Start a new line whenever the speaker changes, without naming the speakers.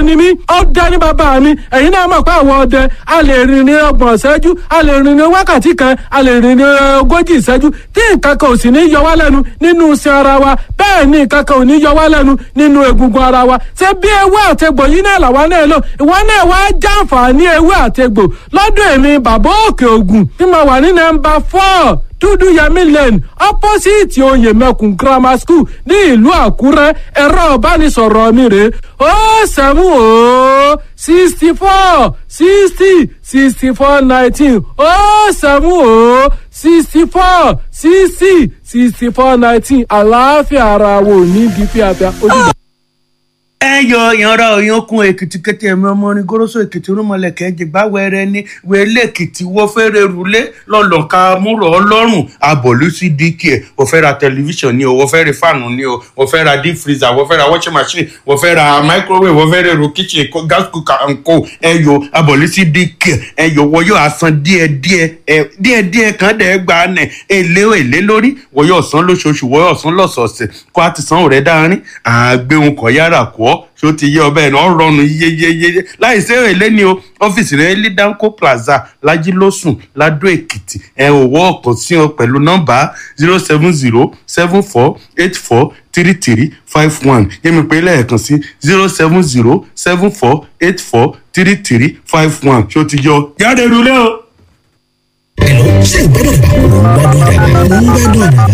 Ọdẹ ni mí, ọdẹ ní bàbá mi. Ẹ̀yin náà mọ̀ pé àwọn ọdẹ a lè rìn ní 30 ìṣẹ́jú, a lè rìn ní wákàtí kan, a lè rìn ní 40 ìṣẹ́jú tí nǹkan kan ò sì ní yọ wá lẹ́nu nínú iṣan ara wa. Bẹ́ẹ̀ ni nǹkan kan ò ní yọ wá lẹ́nu nínú egungun ara wa. Ṣé bí ewé àtegbò yìí náà làwa náà lò? Ìwọ náà wá jàǹfààní ewé àtegbò lọ́dọ̀ èmi Bàbá Òkè Ògùn tí mo wà ní nọ́mbà 4 Dúdú Yẹmí Lane, opposite Oyèmẹkùn Grammar School ní ìlú Àkúrẹ́. Ẹ̀rọ ìbánisọ̀rọ̀ mi rèé: 070 64 60 64 19, 070 64 60 64 19. Àlàáfíà ara wo ní bí fíafíà ó dìgbà.
Ẹ yọ ìyanra òyìnkùn Èkìtì kété, ẹmí ọmọ orin goroso Èkìtì, rúmọlẹkẹ jìgbà wẹrẹ ní wẹlé Èkìtì. Wọ fẹrẹ rúlé lọlọka múrò Ọlọ́run abọlú sí dk. Wọ fẹ́ ra tẹlifíṣàn ni o, wọ fẹ́ ra fáànù ni o, wọ fẹ́ ra deep freezer, wọ fẹ́ ra washing machine, wọ fẹ́ ra microwave, wọ fẹ́ ra èrò kitchen, gas cooker and co. Ẹ yọ abọlú sí dk. Ẹ yọ wọ yóò asan díẹ̀ díẹ̀, ẹ díẹ̀ díẹ̀ kan dẹ gba nẹ èlé èlé lórí. Wọ yóò san lóṣooṣù, wọ yóò san lọ́sọ̀ọ̀sẹ̀ kó a ti san rẹ dáárín àgbéhùn kọ yára kọ ọ. Ṣó ti yé ọbẹ̀ náà rọrùn yeyeyeye láì ṣe èlé ni o. Ọ́fíìsì rẹ̀ ní Danco Plaza, Lajilósùn, Ladó Èkìtì. Ẹ ò wọ́ ọ̀kan sí ọ pẹ̀lú nọ́mbà 07074843351. Yẹ́mi pé lẹ́ẹ̀kan sí: 07074843351. Ṣó ti yọ jáde rúlé o.
Hello, ṣé ìgbádùn àdàbà? Mò ń gbádùn àdàbà. Mò ń gbádùn àdàbà.